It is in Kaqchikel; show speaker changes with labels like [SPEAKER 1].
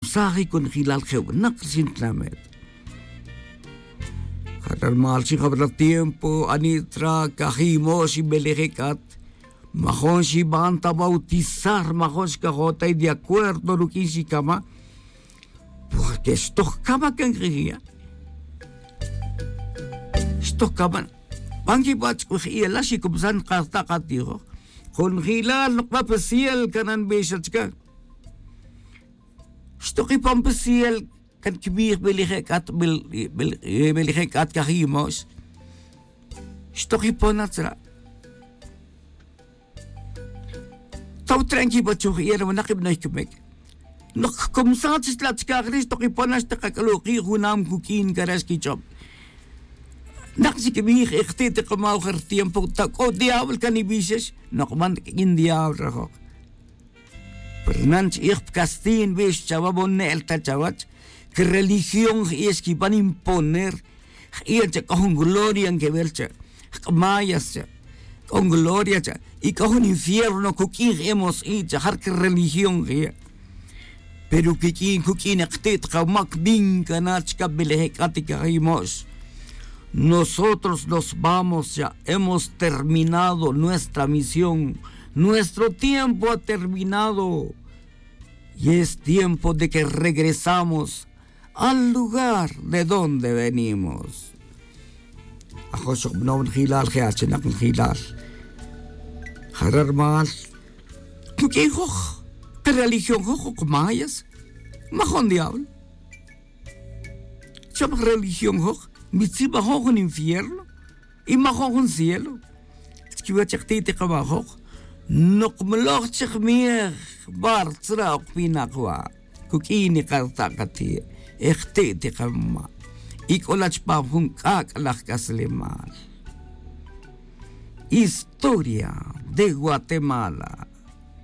[SPEAKER 1] Sahi kun hilal naq sintlamet. Hatar mal si habla tiempo anitra kajimo si belejekat. Majon si banta bautizar majon si kajota y de acuerdo lukin si kama. Porque esto kama kan griya. Esto kama. Bangi bach kuhiela si kumsan karta katiho. Kun hilal nukpapasiel kanan besachka. Stoki pampasiel kan kibir beligekat beligekat kahimos. Stoki ponatra. Tau tranqui bachuh era manakib na hikmek. Nok kumsat tlatskagris toki ponas takakaluki hunam kukin karas kichop. Naksi kibir ikhti tikamauher tiempo tak o diablo kanibises nokman in diablo rajok. Pernanch ich castin bis chavabonelta chavach que religión es que van a imponer y con gloria en que vercha mayas con gloria y con infierno kukin hemos hecho har que religión pero que kin kukin aktit kamak bin kanach kabelehekatika hemos nosotros nos vamos ya hemos terminado nuestra misión. Nuestro tiempo ha terminado y es tiempo de que regresamos al lugar de donde venimos. ¿Qué religión mayas? Majón diablo. Religión un infierno y majón un cielo. نقملوخ تخميخ بار تراق فينا قوا كوكيني قرطاقتي اختي تقما إيكولاش بابهن كاك لخ كسلمال. Historia de Guatemala.